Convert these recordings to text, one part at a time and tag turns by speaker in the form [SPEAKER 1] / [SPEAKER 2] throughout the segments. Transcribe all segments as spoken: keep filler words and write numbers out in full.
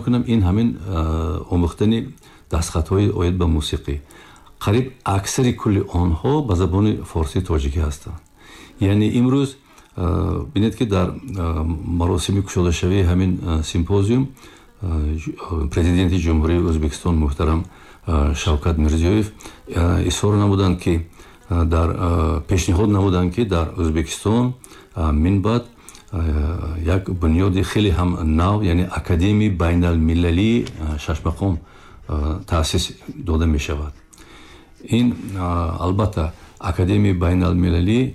[SPEAKER 1] мекунам, ин ҳамин омӯхтани дастхатҳои оид ба мусиқӣ. Қариб аксари кулли онҳо ба забони форсии тоҷикӣ ҳастанд. Яъне имрӯз бинед, ки дар маросими кушодашавии ҳамин симпозиум Президенти Ҷумҳурии Ӯзбекистон муҳтарам Шавкат Мирзиёев изҳор намуданд, ки дар пешниҳод намуданд, ки дар Ӯзбекистон минбаъд як бунёди хеле ҳам нав, яъне Академияи байналмилалии шашмақом таъсис дода мешавад. Ин албатта Академияи байналмилалӣ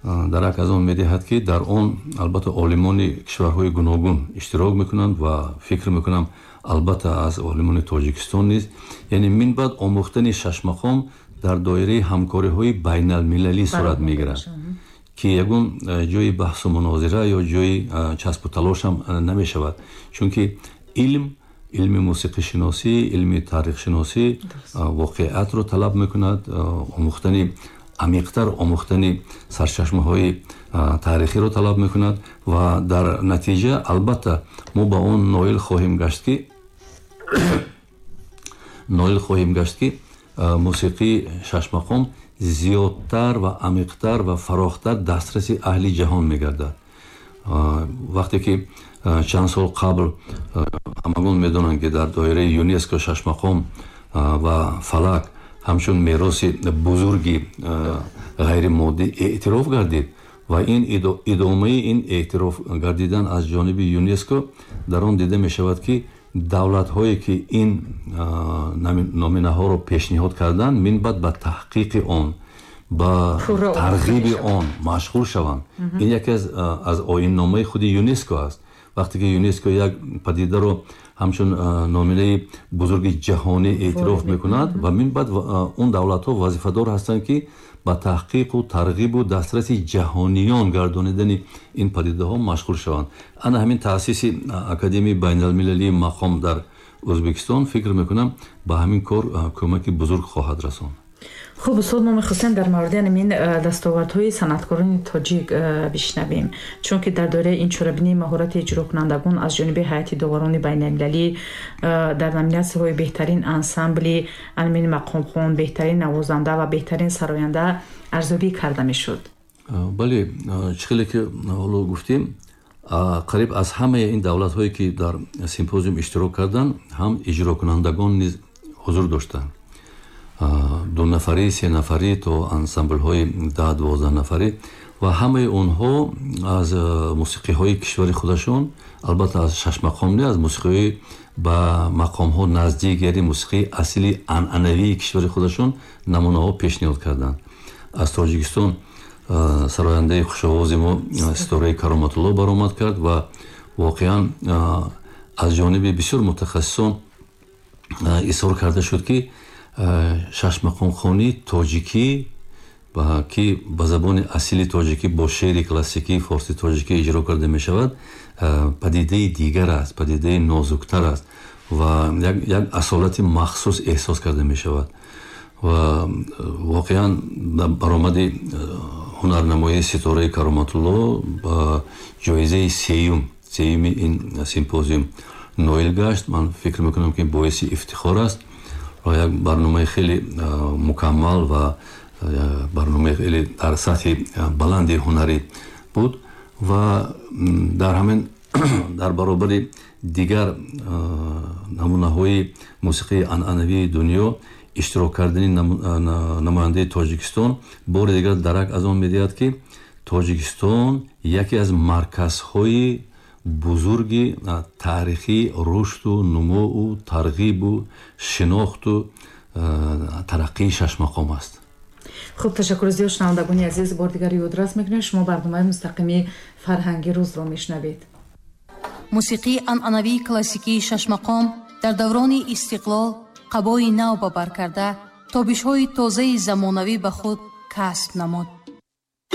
[SPEAKER 1] дарак аз он медиҳад, ки дар он албатта олимони кишварҳои гуногун иштирок мекунанд ва фикр мекунам, албатта аз олимони Тоҷикистон низ. Яъне минбаъд омӯхтани шашмақом дар доираи ҳамкориҳои байналмилалӣ сурат мегирад, ки ягон ҷои баҳсу мунозира ё ҷои часпу талош ҳам намешавад, чунки илм, илми мусиқишиносӣ, илми таърихшиносӣ воқеиятро талаб мекунад, омӯхтани амиқтар, омӯхтани сарчашмаҳои таърихиро талаб мекунад ва дар натиҷа албатта мо ба он ноил хоҳем гашт ки ноил хоҳем гашт ки мусиқии шашмақом зиёдтар ва амиқтар ва фарохтар дастраси аҳли ҷаҳон мегардад. Вақте ки чанд сол қабл, ҳамагон медонанд, ки дар доираи ЮНЕСКО шашмақом ва фалак ҳамчун мероси бузурги ғайримоддӣ эътироф гардид ва ин идомаи ин эътироф гардидан аз ҷониби ЮНЕСКО дар он дида мешавад, ки давлатҳое, ки ин номинаҳоро пешниҳод карданд, минбаъд ба таҳқиқи он, ба тарғиби он машғул шаванд. Ин яке аз оинномаи худи ЮНЕСКО аст. Вақте ки ЮНЕСКО як падидаро ҳамчун номинаи бузурги ҷаҳонӣ эътироф мекунад ва минбаъд он давлатҳо вазифадор ҳастанд, ки ба таҳқиқу тарғибу дастраси ҷаҳониён гардонидани ин падидаҳо машғул шаванд. Ана ҳамин таъсиси Академияи байналмилалии мақом дар Ӯзбекистон, фикр мекунам, ба ҳамин кор кӯмаки бузург хоҳад расонд.
[SPEAKER 2] Хуб, устод, мо мехостем дар мавриди ҳамин дастовардҳои санъаткорони тоҷик бишнавем, чунки дар доираи ин чорабинии маҳорати иҷрокунандагон аз ҷониби ҳайати доварони байналмилалӣ дар номинатсияҳои беҳтарин ансамбли ҳамин мақомхон, беҳтарин навозанда ва беҳтарин сароянда арзёбӣ карда мешуд.
[SPEAKER 1] Бале, чӣ хеле ки ҳоло гуфтем, қариб аз ҳамаи ин давлатҳое, ки дар симпозиум иштирок карданд, ҳам иҷрокунандагон низ ҳузур доштанд, ду нафарӣ, се нафарӣ то ансамблҳои даҳ дувоздаҳ нафарӣ ва ҳамаи онҳо аз мусиқиҳои кишвари худашон, албатта аз шашмақом не, аз мусиқиҳои ба мақомҳо наздик, яъне мусиқии асили анъанавии кишвари худашон намунаҳо пешниҳод карданд. Аз Тоҷикистон сарояндаи хушовози мо Ситораи Кароматулло баромад кард ва воқеан аз ҷониби бисёр мутахассисон изҳор карда шуд, ки шашмақомхонии тоҷикӣ, ки ба забони асили тоҷикӣ бо шеъри классикии форси тоҷикӣ иҷро карда мешавад, падидаи дигар аст, падидаи нозуктар аст ва як асолати махсус эҳсос карда мешавад. Ва воқеан баромади ҳунарнамоии Ситораи Кароматулло ба ҷоизаи сеюм сеюми ин симпозиум ноил гашт. Ман фикр мекунам, ки боиси ифтихор аст ва як барномаи хеле мукаммал ва барномаи хеле дар сатҳи баланди ҳунарӣ буд ва дар ҳамин дар баробари дигар намунаҳои мусиқии анъанавии дунё иштирок кардани намояндаи Тоҷикистон бори дигар дарак аз он медиҳад, ки Тоҷикистон яке аз марказҳои бузурги таърихии рушду нумӯу тарғибу шинохту тараққии шашмақом аст.
[SPEAKER 2] Хуб, ташаккури зиёд. Шунавандагони азиз, бори дигар ёдрас мекунем, шумо барномаи мустақими «Фарҳанги рӯзро» мешунавед.
[SPEAKER 3] Мусиқии анъанавии классикии шашмақом дар даврони истиқлол қабои нав ба бар карда, тобишҳои тозаи замонавӣ ба худ касб намуд.